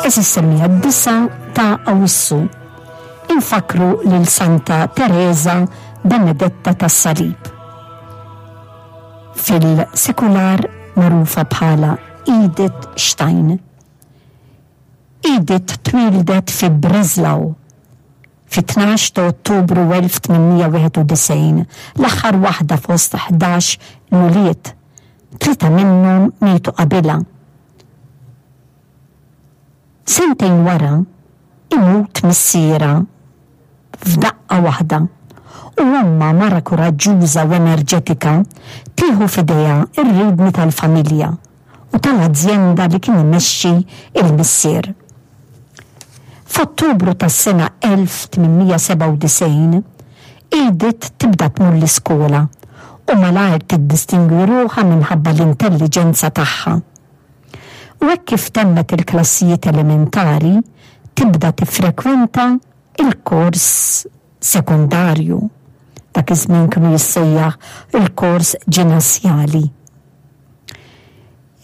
Għeżież semmiegħa d-disgħa ta' Awwissu infakkru lil Santa Tereża Benedetta tas-Salib. Fil-sekular magħrufa bħala Edith Stein. Edith twieldet fi Breslau fit-12 ta' Ottubru 1891, l-aħħar waħda fost 11 l-ulied, tlieta minnhom mietu qabilha. Sentejn wara, imut missierha f'daqqa waħda u ommha, mara kuraġġuża u enerġetika, tieħu f'idejha r-riedni tal-familja u tal-azjenda li kien imexxi l-missier. F'Ottubru tas-sena 1897, Edith tibda tmur l-iskola u malajr tiddistingwi ruħha minħabba l-intelliġenza tagħha. U hekk kif temmet il-klassijiet elementari, tibda tiffrekwenta l-kors sekondarju. Dak iż-żmien kienu jissejjaħ il-kors ġinasjali.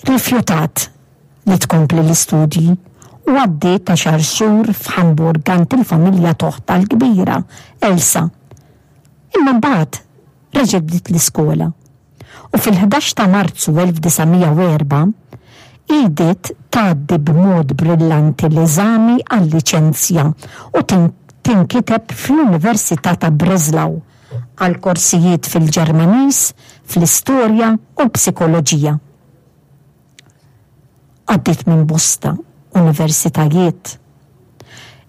Rifjutat li tkompli l-istudji u għaddiet għaxar xhur f'Hamburg għand il-familja t'oħtha l-kbira, Elsa. Imma mbagħad reġgħet bdiet l-iskola. U fil-11 ta' Marzu 1904, Edith tgħaddi b'mod brillanti l-eżami għal-liċenzja u tinkiteb fl-Università ta' Breslau għal korsijiet fil-Ġermaniż, fl-Istorja u l-Psikoloġija. Għaddiet minn bosta universitajiet.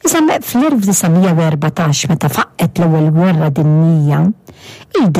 Iżda fl-1914 meta faqqgħet l-Ewwel Gwerra Dinjija, Edith.